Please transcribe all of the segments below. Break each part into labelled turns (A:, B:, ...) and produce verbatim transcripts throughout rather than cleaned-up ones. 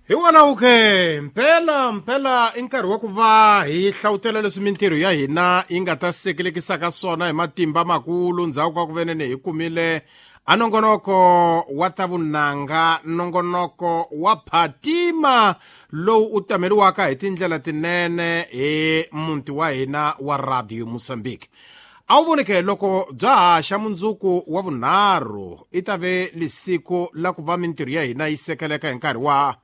A: Hi wona okay mpela mpela i nkarhi wa ku va hi hlawutela leswi mintirho ya hina yi nga ta sekelekisaka swona hi matimba makulu ndzhaku ka ku venene hi kumile a nongonoko wa ta vunanga nongonoko wa phatima lowu u tameriwaka hi tindlela tinene hi muti wa hina wa Radio Mozambique. A wu voneke loko bya ha xa mundzuku wa vunharhu i ta ve lisiku la ku va mintirho ya hina yi sekeleka hi nkarhi wa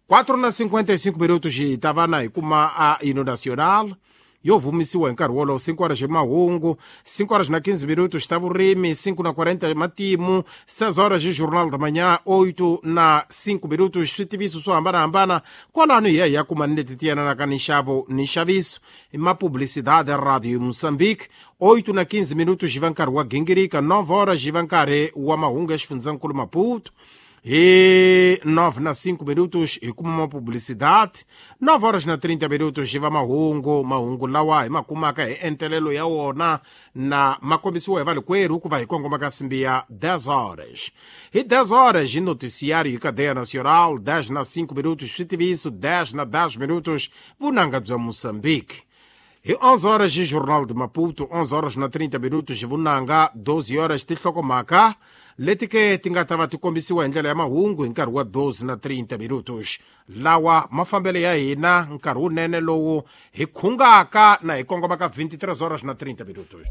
A: quatro na cinquenta e cinco minutos hi ta va na hi kuma a hino nacional yo vumisiwa hi nkarhi wolowo cinco horas mahungu, cinco horas na quinze minutos ta vurimi, cinco na quarenta matimu, seis horas de jornal da manhã, oito na cinco minutos switiviso swo hambanahambana kwalano hi ya hi ya kuma ni leti ti yelanaka ni nxavo ni nxaviso ma publicidade Radio Moçambique. Oito na quinze minutos va nkarhi wa gingirika, nove horas va nkarhi wa mahungu ya xifundzankulu Maputo. Hi nove na cinco minutos hi kuma ma publicidade, nove horas na trinta minutos va mahungu mahungu lawa hi ma kumaka hi entelelo ya wona na ma kombisiwa hi valikwerhu ku va hi kongoma ka nsimbi ya dez horas. Hi dez horas hi noticiário hi cadeia nacional, dez na cinco minutos switiviso, dez na dez minutos vunanga bya Moçambique. Hi onze horas hi Jornal de Maputo, onze horas na trinta minutos vunanga, doze horas tinhlokomhaka leti ke ti nga ta va ti kombisiwa hi ndlela ya mahungu hi nkarhi wa doze na trinta minutos. Lawa mafambelo ya hina nkarhi wunene lowu hi khungaka na hi kongomaka vinte e três horas na trinta minutos.